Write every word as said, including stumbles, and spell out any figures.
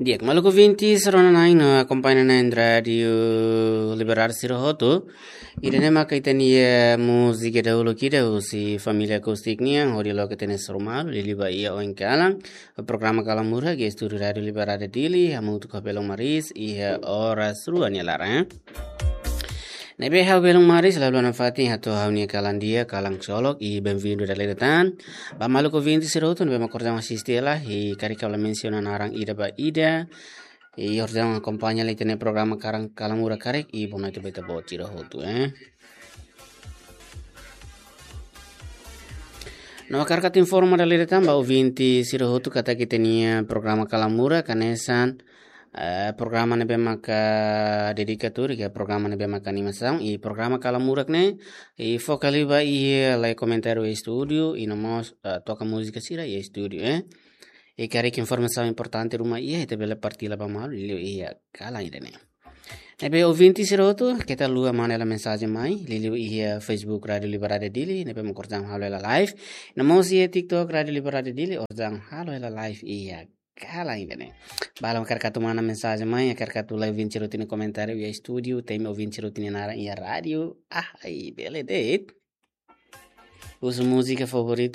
Di'ak, maluk ouvinte sira-ne'e no akompaña iha Rádiu Liberdade sira hotu. Ida-ne'e maka ita-nia múzika dahuluk ida husi Família Acústica nian, hodi loke ita-nia suru malu, liuliu ba iha oin kalan. Programa Kalan Murak iha estúdiu Rádiu Liberdade Dili, hamutuk ho belun maris, iha oras rua nia laran. Ne'ebé ha'u belun maris, la haluha nafatin hato'o ha'u-nia kalan di'ak, kalan ksolok, i bem-vindo dala ida tan. Ba maluk ouvinte sira hotu, ne'ebé mak orsida asiste hela, i karik ha'u la mensiona naran ida ba ida. I orsida akompaña hela ita-nia programa Kalan, Kalan Murak karik, i boa noite ba ita-boot sira hotu, eh. No hakarak atu informa dala ida tan ba ouvinte sira hotu katak ita-nia programa Kalan Murak hanesan, eh, programa ne'ebé maka dedika tuir, ke programa ne'ebé maka animasaun, i programa Kalan Murak ne'e, i foka liu ba iha lai komentáriu iha estúdiu, i no mós, eh, toka múzika sira iha estúdiu, eh. I karik informasaun importante ruma iha, ita bele partilla ba malu, liuliu iha kalan ida-ne'e. Ne'ebé ouvinte sira hotu, keta haluha manda hela mensajen mai, liuliu iha Facebook Rádiu Liberdade Dili, ne'ebé mak orsida halo hela live. No mós iha TikTok Rádiu Liberdade Dili, orsida halo hela live iha kalan ida-ne'e. Ba ha'u hakarak atu manda mensajen mai, hakarak atu lai ouvinte sira hotu nia komentáriu iha estúdiu, temi ouvinte sira hotu nia naran iha rádiu. Ah, ai, bele de'it. Husu múzika favoritu